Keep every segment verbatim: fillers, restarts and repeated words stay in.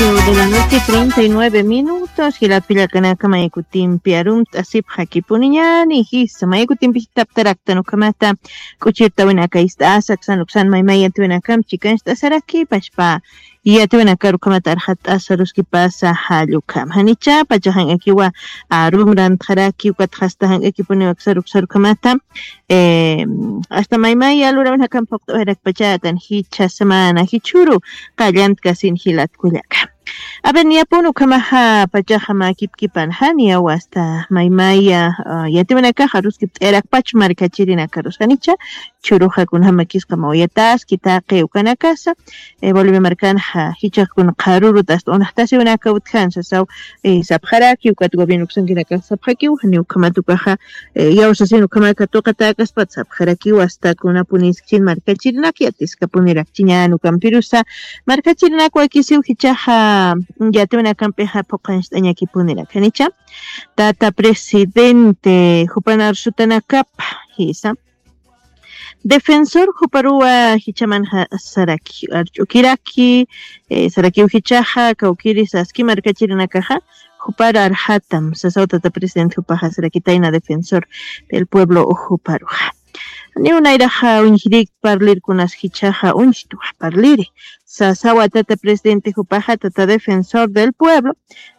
Ocho de la noche, treinta y nueve minutos. Jilat pillakanaka, maykutimpi arumt'asipxakipuniñani jisa, maykutimpi jitaptaraktan ukhamata k'uchirtawinaka ist'asa, aksan uksan maymay yatiwinakamp chikancht'asaraki pachpa yatiwinakar ukhamata arxatt'asa ruskipasa jallukama. Janicha pachaxankakiwa arum rantxaraki, ukatxasta jank'akipuniwa aksar uksar ukhamata, eh, hasta maymay alurawinakamp phuqt'awayarakpachatan jichha semana jichhuru qallant kasin jilat kullaka. A ver, niyapun ukhamaxa pachaxa mä kipkipan, janiyaw hasta maymaya, ah, yatiwinakaxa aruskipt'ayarakpach markachirinakarusa, janicha churuxa kunjamakisqa mawayataski taqi ukanakasa, eh, Bolivia markanxa jichhax kuna qharurut hasta unaxtasiwinaka utjan sasaw, eh, sapxaraki, ukat gobierno uksankinakax sapxakiw, janiw ukhamat ukaxa, eh, yawsasin ukhamat katuqatäkaspat sapxarakiw hasta kunapuniskchin markachirinak yatiskapunirakchiñan ukampirusa, markachirinak wakisiw jichhaxa yatiwinakampixa phuqancht'añakipunirak, janicha tata presidente jupan arsutanakapa jisa. Defensor juparuwa jichhamanxa saraki, arch'ukiraki, eh, sarakiw jichhaxa, kawkiri saski markachirinakaxa, jupar arxatam, sasaw tata presidente jupaxa sarakitayna defensor del pueblo juparuxa. Niw nayraxa uñjirik parlir kunas jichhaxa uñjtuwa parliri, sasawa tata presidente jupaxa tata defensor del pueblo,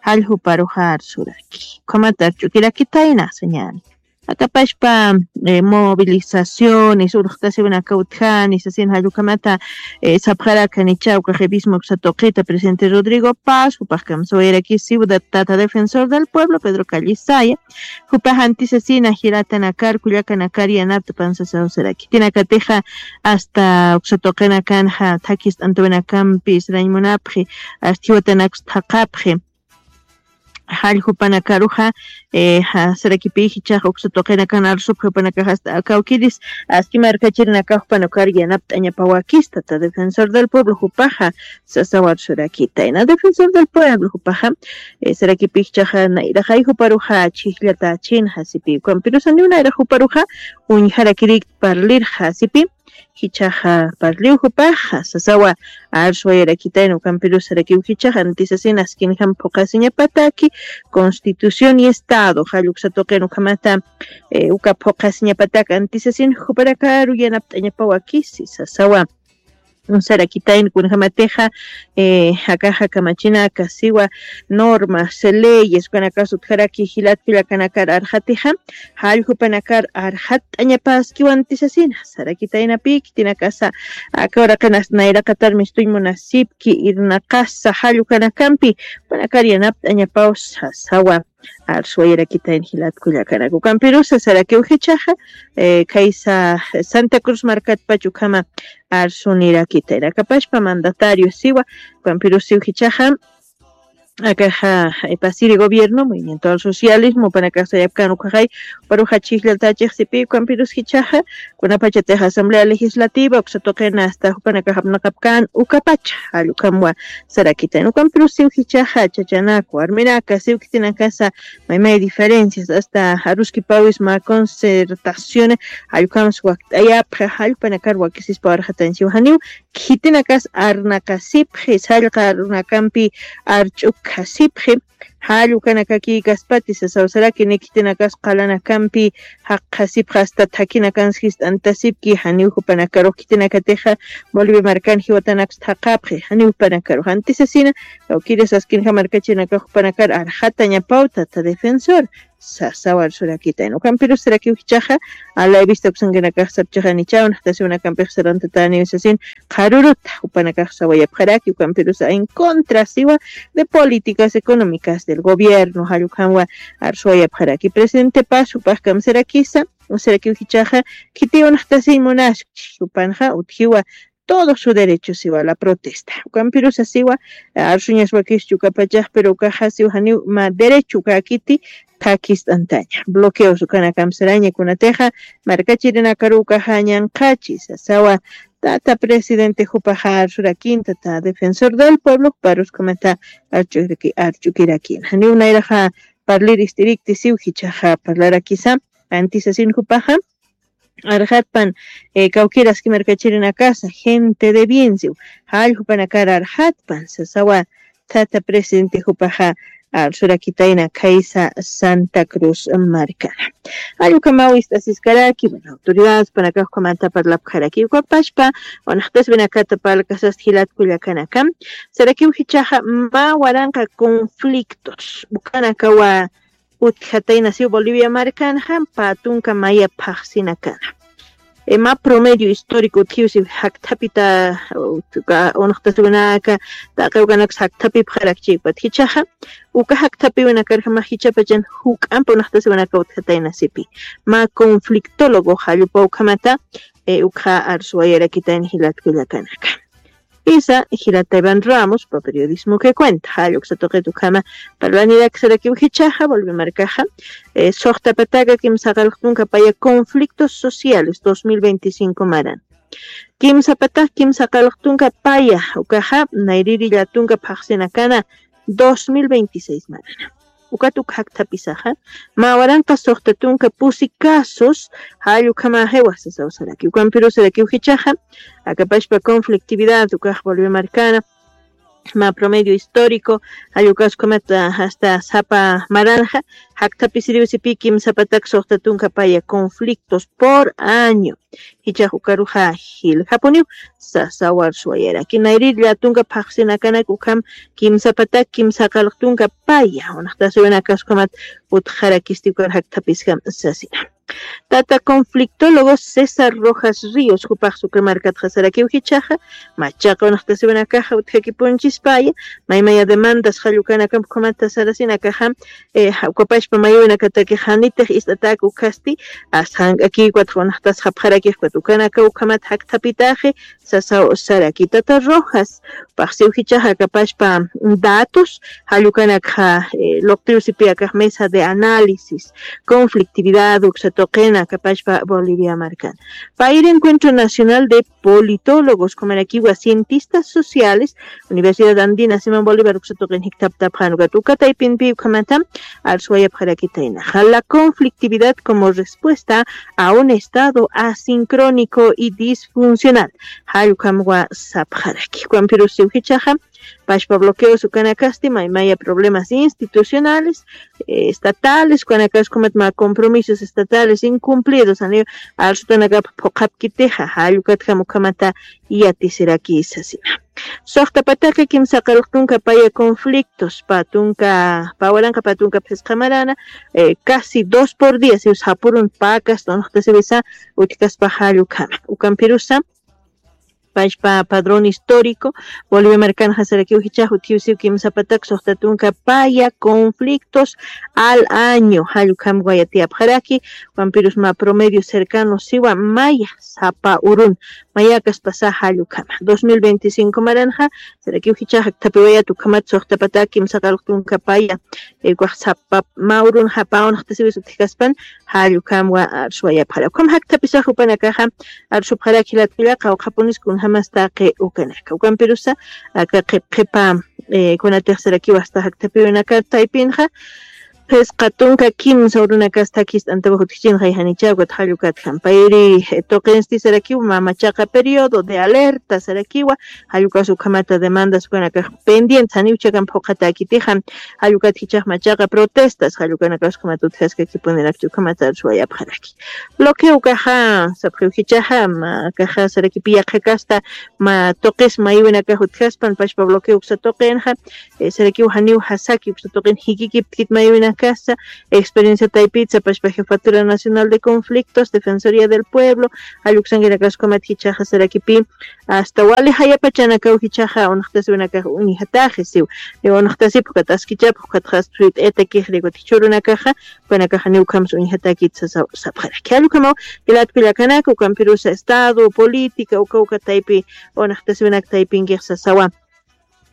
jall juparuxa arsuraki. Ukhamat arch'ukirakitayna, señal. Akapashpa, eh, movilizaciones, urxtasiwinaka utjani, sasin jall ukhamata, eh, sapxarakanicha uka qhipisma uksa tuqita presidente Rodrigo Paz, jupax kamsawayarakisiw tata defensor del pueblo, Pedro Callisaya, jupax antisasina jiratanakar, kullakanakar yanapt'apan sasaw saraki. Khitinakatixa hasta uksa tuqinakanxa thakist'antawinakampis rañ munapxi, hasta jiwatanakus thaqapxi. Jall jupanakaruxa, eh, ja, sarakipï jichhax uksa tuqinakan arsupxi jupanakax hasta kawkiris aski markachirinakax jupanakar yanapt'añapawakista, ta defensor del pueblo jupaxa sasaw arsurakitayna. Defensor del pueblo jupaxa, eh, sarakipï jichhaxa nayraxay juparuxa chhijllatächinxa sipï, ukampirusa niw nayrax juparuxa uñjarakirik parlirxa sipï. Jichhaxa parliw jupaxa sasawa arsuwayarakitayna, ukampirusa sarakiw jichhaxa antisasina askinjam phuqasiñapataki, constitución y estado jall uksa tuqin ukhamata, eh, uka phuqasiñapatak antisasin jupanakaru yanapt'añapawakisi sasawa sarakitayna. Kunjamatixa, eh, akaxa kamachinaka siwa normas, leyes ukanakas utjaraki jilat kullakanakar arxatixa, jall jupanakar arxatt'añapäskiw antisasina sarakitaynapï. Khitinakasa aka uraqinasta nayraqatar mistuñ munasipki irnaqasa jall ukanakampi jupanakar yanapt'añapaw sasawa arsuwayarakitayna jilat kullakanaka. Ukampirusa sarakiw jichhaxa, eh, khaysa Santa Cruz markatpach ukhama arsunirakitayna. Akapashpa mandatario siwa, ukampirusiw jichhaxa, akaxa, eh, pasiri gobierno, movimiento al socialismo, jupanakax sayapkän ukhaxay, juparuxa chhijllatächix sipï, ukampirus jichhaxa, kunapachatix asamblea legislativa uksa tuqina hasta jupanakax apnaqapkän ukapacha jall ukhamwa sarakitayna. Ukampirusiw jichhaxa chachanak, warminak, siw khitinakasa maymay diferencias, hasta aruskipawis mä concertación, jall ukhamsa wakt'ayapxi, jall jupanakar wakisispa arxatañ siw, janiw khitinakas arnaqasipxi, sallqa arunakampi arch'ukasipxi, jall ukanakakïkaspati sasaw saraki, ni khitinakas qalanakampi jaqasipxi, hasta thakhinakans jist'antasipki, janiw jupanakarux khitinakatixa Bolivia markan jiwatanakus thaqapxi, janiw jupanakarux antisasina, kawkiri saskinxa markachirinakax jupanakar arxatañapaw tata defensor sasaw arsurakitayna. Ukampirus sarakiw jichhaxa, a la vista uksankinakax sapchixanichaw, naxtasiwinakampix sarantatäniw sasin, qharurut jupanakax sawayapxaraki, ukampirusa en contra siwa de políticas económicas del gobierno, jall ukhamwa arsuwayapxaraki. Presidente Paz jupax kamsarakisa, sarakiw jichhaxa, khitiw naxtasiñ munaskchi, jupanxa utjiwa todo su derecho siwa la protesta. Ukampirusa siwa, arsuñas wakischi ukapachax, pero ukaxa siw janiw mä derecho ukäkiti thakist'antaña. Bloqueos ukanakamp saraña, kunatixa markachirinakaru ukaxa ñanqhachi sasawa tata presidente jupaxa arsurakin, tata defensor del pueblo juparus ukhamata arch'ukiraki, arch'ukirakina. Janiw nayraxa parlir ist'irikti siw jichhaxa parlarakisa, antisasin jupaxa arxatpan, eh, kawkir aski markachirinakasa, gente de bien siw, jall jupanakar arxatpan sasawa tata presidente jupaxa arsurakitayna khaysa Santa Cruz markana. Allukamaw ist'asiskaraki, bueno, autoridades panakax ukhamanta parlapxaraki. Ukapashpa, unaxtaswinakata parlkasast jilat kullakanaka, sarakiw jichhaxa mä waranqa conflictos ukanakawa utjatayna siw Bolivia markanxa, pä tunka maya phaxsinakana. E, mä promedio histórico utjiw siw jakthapita, uka unaxtaswinaka, taqi ukanaks jakthapipxarakchi ukat jichhaxa, uka jakthapiwinakarjamax jichhapachan juk'amp unaxtaswinaka utjatayna sipi. Mä conflictólogo jallupa ukhamata, e, ukxa arsuwayarakitayna jilat kullakanaka. Isa, jilat Iván Ramos, pa periodismo que cuenta, jall uksa tuqit ukhama parlanirak sarakiw jichhaxa, Bolivia markaxa, e, suxta pataka kimsa qallq tunka paya conflictos sociales dos mil veinticinco maran. Kimsa pataq kimsa qallq tunka paya, ukaxa, nayrïri llätunka phaxsinakana dos mil veintiséis marana. Ukat uk jakthapisaxa, mä waranqa suxta tunka pusi casos, jall ukhamaxiwa sasaw saraki. Ukampirus sarakiw jichhaxa, akapashpa conflictividad, ukax Bolivia markana, mä promedio histórico, jall ukas ukhamat, ah, hasta sapa maranxa, jakthapisiriw sipi kimsa pataq suxta tunka paya conflictos por año. Jichhax ukaruxa jiljapuniw, sasaw arsuwayaraki. Nayrïri llätunka phaxsinakanak ukham kimsa pataq kimsa qallq tunka paya, unaxtaswinakas ukhamat utjarakisti ukar jakthapiskam sasina. Tata conflictólogo César Rojas Ríos, jupax Sucre markatxa sarakiw jichhaxa, machaqa unaxtaswinakaxa utjakipunchispaya, maymaya demandas jall ukanakamp ukhamata sarasinakaxa, e, ja-, ukapashpa mayuwinakataki janitix ist'atak ukhasti, as jank'aki ukat unaxtasxapxaraki ukat ukanaka ukhamat jakthapitaxi, sasaw saraki. Tata Rojas, paxsiw jichhaxa akapashpa datos, jall ukanakxa, e, luqtiw sipi akax mesa de análisis, conflictividad, uksa tuqina akapashpa Bolivia markan. Payri Encuentro Nacional de Politólogos, ukhamarakiwa cientistas sociales, Universidad Andina Simón Bolívar uksa tuqin jikthaptapxan ukat uka taypinpi ukhamata arsuwayapxarakitayna. La conflictividad como respuesta a un estado asincrónico y disfuncional. Jall ukhamwa sapxaraki. Ukampirus siw jichhaxa, pashpa bloqueos ukanakasti, maymaya problemas institucionales, eh, estatales, ukanakas ukhamat mä compromisos estatales incumplidos, janiw arsutanakap phuqhapkitixa, jall ukatjam ukhamata yatisiraki sasina. Suxta pataka kimsa qallq tunka paya conflictos, pä tunka, pä waranqa pä tunka phisqa marana, eh, casi dos por día, siw sapürun pakasta unaxtasipisa utjkaspa jall ukhama. Ukampirusa, pashpa padrón histórico, Bolivia markanxa sarakiw jichhax utjiw siw kimsa pataq suxta tunka paya conflictos al año, jall ukhamwa yatiyapxaraki, ukampirus mä promedio cercano siwa maya sapa urun, mayakaspasa jall ukhama. Dos mil veinticinco maranxa, sarakiw jichhax jakthapiwayät ukhamat suxta pataq kimsa qallq tunka paya, eh, ukax sapa mä urunxa pä unaxtasipis utjkaspan, jall ukhamwa arsuwayapxara. Ukham jakthapisax jupanakaxa arsupxarak jilat kullaka, qawqhapunis kunjamas taqi ukanaka. Ukampirusa, aka qhip qhipa, eh, kunatix sarakiw hasta jakthapiwinaka taypinxa, phisqa tunka kimsa urunakas thakist'antawa utjchinxa, janicha ukat jall ukatjam. Payri, eh, tuqinsti sarakiw mä machaqa periodo de alerta sarakiwa, jall ukas ukhamata demandas ukanakax pendientes, janiw chakan phuqhatäkitixa, jall ukat jichhax machaqa protestas, jall ukanakas ukhamat utjaskakipunirakchi ukhamata arsuwayapxaraki. Bloqueo ukaxa, sapxiw jichhaxa, mä akaxa sarakipi yaqha kasta, mä tuqis mayuwinakax utjaspan, pashpa bloqueo uksa tuqinxa, eh, sarakiw janiw jasaki uksa tuqin jikikipkit mayuwinakasa, experiencia taypitsa, pashpa Jefatura Nacional de Conflictos, Defensoría del Pueblo, jall uksankinakas ukhamat jichhaxa sarakipi, hasta wali jayapachanakaw jichhaxa unaxtasiwinakax uñjataxi siw. Niw unaxtasip ukat askichap, ukatxa suyt'ayatakixri ukat jichhürunakaxa, ukanakaxa niw ukhams uñjatäkit sasaw sapxaraki. Jall ukhamaw, jilat kullakanaka, ukampirusa estado, política, uka uka taypi, unaxtasiwinak taypinkix sasawa,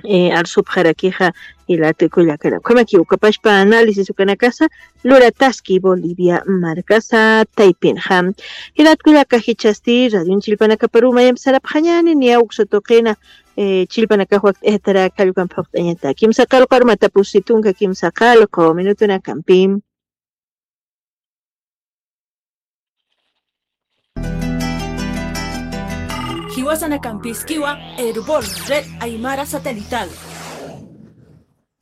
eh, arsupxarakixa, jilat kullakanaka. Ukhamaki, ukapashpa análisis ukanakasa, lurataski Bolivia markasa taypinxa. Jilat kullaka jichhasti, radion chillpanakaparu mayamp sarapxañäni, niya uksa tuqina, eh, chillpanakax wakt'ayatarak jall ukamp phuqt'añataki. Kimsa qallqu armata pusi tunka kimsa qallqu minutunakampi. Jiwasanakampïskiwa, Erbol, Red Aymara Satelital.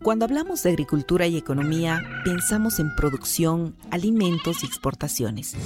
Cuando hablamos de agricultura y economía, pensamos en producción, alimentos y exportaciones.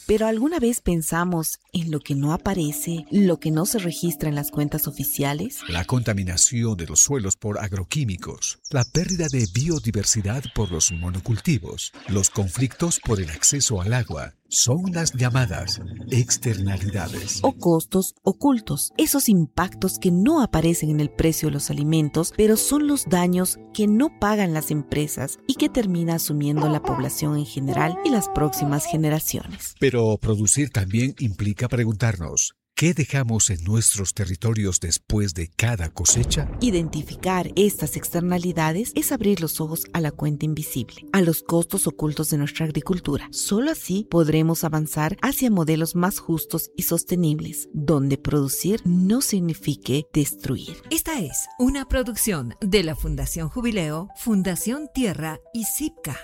Pero ¿alguna vez pensamos en lo que no aparece, lo que no se registra en las cuentas oficiales? La contaminación de los suelos por agroquímicos, la pérdida de biodiversidad por los monocultivos, los conflictos por el acceso al agua, son las llamadas externalidades. O costos ocultos, esos impactos que no aparecen en el precio de los alimentos, pero son los daños que no pagan las empresas y que termina asumiendo la población en general y las próximas generaciones. Pero producir también implica preguntarnos, ¿qué dejamos en nuestros territorios después de cada cosecha? Identificar estas externalidades es abrir los ojos a la cuenta invisible, a los costos ocultos de nuestra agricultura. Solo así podremos avanzar hacia modelos más justos y sostenibles, donde producir no signifique destruir. Esta es una producción de la Fundación Jubileo, Fundación Tierra y CIPCA.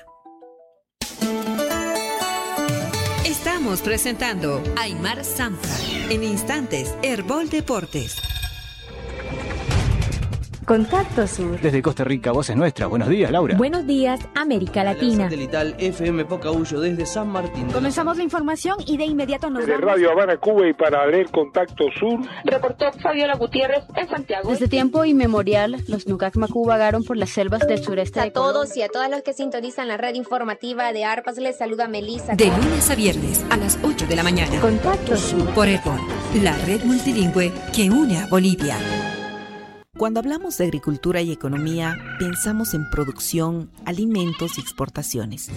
Estamos presentando Aymar Samsa. En instantes, Erbol Deportes. Contacto Sur. Desde Costa Rica, Voces Nuestras. Buenos días, Laura. Buenos días, América Latina. Satelital F M Pocahuyo desde San Martín. Comenzamos la información y de inmediato nos vamos. De Radio Habana, Cuba y para leer Contacto Sur. Reportó Fabiola Gutiérrez en Santiago. Desde tiempo inmemorial, los Nukak Maku vagaron por las selvas del sureste de Colombia. A todos y a todas los que sintonizan la red informativa de Arpas, les saluda Melissa. De lunes a viernes a las ocho de la mañana. Contacto Sur. Por Erbol, la red multilingüe que une a Bolivia. Cuando hablamos de agricultura y economía, pensamos en producción, alimentos y exportaciones.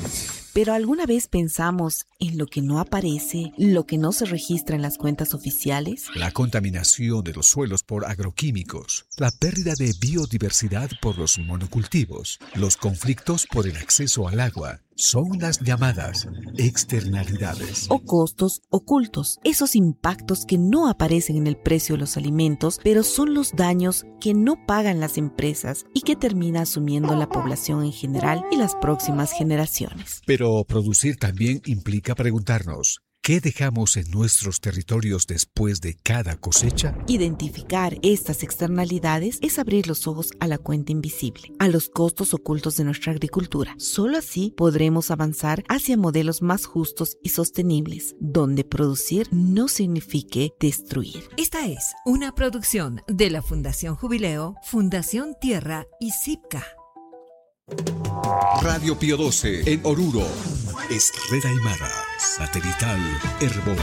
Pero ¿alguna vez pensamos en lo que no aparece, lo que no se registra en las cuentas oficiales? La contaminación de los suelos por agroquímicos, la pérdida de biodiversidad por los monocultivos, los conflictos por el acceso al agua, son las llamadas externalidades. O costos ocultos, esos impactos que no aparecen en el precio de los alimentos, pero son los daños que no pagan las empresas y que termina asumiendo la población en general y las próximas generaciones. Pero producir también implica preguntarnos, ¿qué dejamos en nuestros territorios después de cada cosecha? Identificar estas externalidades es abrir los ojos a la cuenta invisible, a los costos ocultos de nuestra agricultura. Solo así podremos avanzar hacia modelos más justos y sostenibles, donde producir no signifique destruir. Esta es una producción de la Fundación Jubileo, Fundación Tierra y CIPCA. Radio Pío doce en Oruro es Red Aymara Satelital Erbol.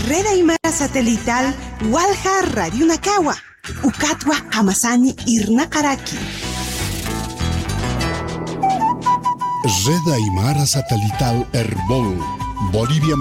Red Aymara Satelital Walja Radio Nakawa. Ukatwa Hamasani Irnakaraki. Red Aymara Satelital Erbol. Bolivia